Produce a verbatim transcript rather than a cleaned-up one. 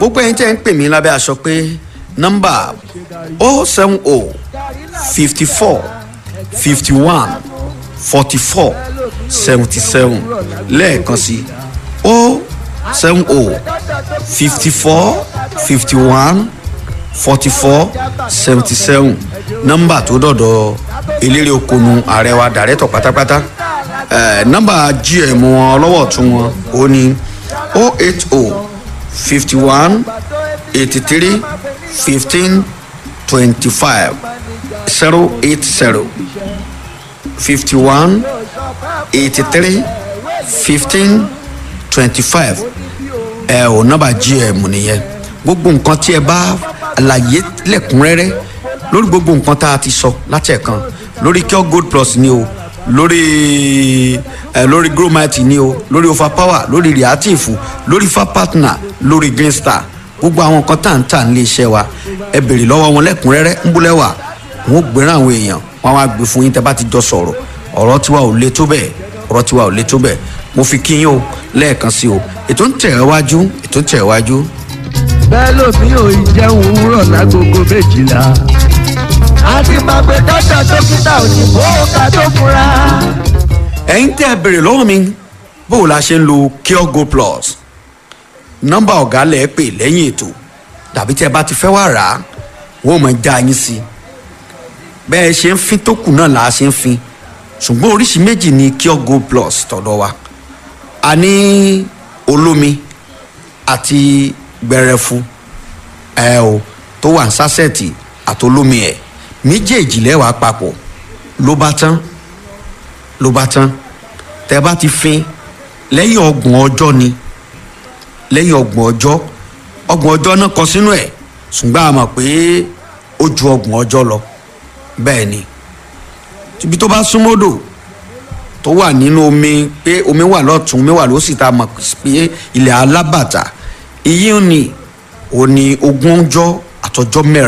Gbogbo ẹ̀yin tẹ́ ń pè mí lábẹ́ aṣọ pé nọ́mbà oh seven oh fifty four fifty one forty four seventy seven lẹ́ẹ̀kan sí oh seven oh fifty four fifty one forty four seventy seven, nọ́mbà tó dọ̀dọ̀ eléré okonu ààrẹ wa dàrẹ́tọ̀ pátápátá. Eh, nọ́mbà G M wọn ọlọ́wọ́ tún wọn ó ní oh eight oh fifty one eighty three fifteen twenty five, zero eight zero fifty one eighty three fifteen twenty five. Ẹ ò nọ́mbà G M nìyẹn. Gbogbo nǹkan tí ẹ bá àlàyé lẹ́kùnrẹ́rẹ́ lórí gbogbo nǹkan tá a ti sọ láti ẹ̀kan lórí Cure Gold Plus ni o, lórí ẹ lórí Gromite ni o, lórí Overpower, lórí Reactive, lórí Fa Partner, lórí Green Star, gbogbo àwọn nǹkan tá à ń tà nílé iṣẹ́ wa, ẹ béèrè lọ́wọ́ wọn lẹ́kùnrẹ́rẹ́. Ń búlẹ̀ wà wọn ò gbéràn àwọn èèyàn wọn wá gbé fún yín tẹ́ bá ti jọ sọ̀rọ̀. Ọ̀rọ̀ tiwa ò le tó bẹ́ẹ̀, ọ̀rọ̀ tiwa ò le tó bẹ́ẹ̀. Mo fi kí yín o lẹ́ẹ̀kan sí o. Ètò ń tẹ̀ wájú, ètò ń tẹ̀ wájú. Bẹ́ẹ̀ lómi ò ì jẹun òwúrọ̀ lágogo méjìlá. Àti máa gbé dọ́tà dókítà òyìnbó ká tó fura. Ẹ̀yin tẹ́ ẹ béèrè lọ́wọ́ mi bó o la ṣe ń lo Cure Gold Plus, nọ́mbà ọ̀gá lẹ̀ pè lẹ́yìn ètò tàbí tí ẹ bá ti fẹ́ wá rà á, wọ́n mọ̀ já yín sí i. Bẹ́ẹ̀ ṣe ń fin tó kù náà là á ṣe ń fin, ṣùgbọ́n oríṣi méjì ni Cure Gold Plus tọ̀dọ̀ wa. A ní olómi àti gbẹrẹfu ẹ o tó wà ní sásẹ̀tì àtolómi ẹ̀ méjèèjì lẹ́wàá papọ̀ ló bá tán, ló bá tán. Tẹ bá ti fin lẹ́yìn ọgbọ̀n ọjọ́ ni, lẹ́yìn ọgbọ̀n ọjọ́, ọgbọ̀n ọjọ́ náà kọ sínú ẹ̀, ṣùgbọ́n a mọ̀ pé ó ju ọgbọ̀n ọjọ́ lọ. Bẹ́ẹ̀ ni ibi tó bá súnmọ́dò tó wà nínú omi, pé omi wà lọ́tún, omi wà lósì, tá a mọ̀ pé ilẹ̀ alábàtà ìyí ni ò ní ogún ọjọ́ àtọjọ́ mẹ́rin.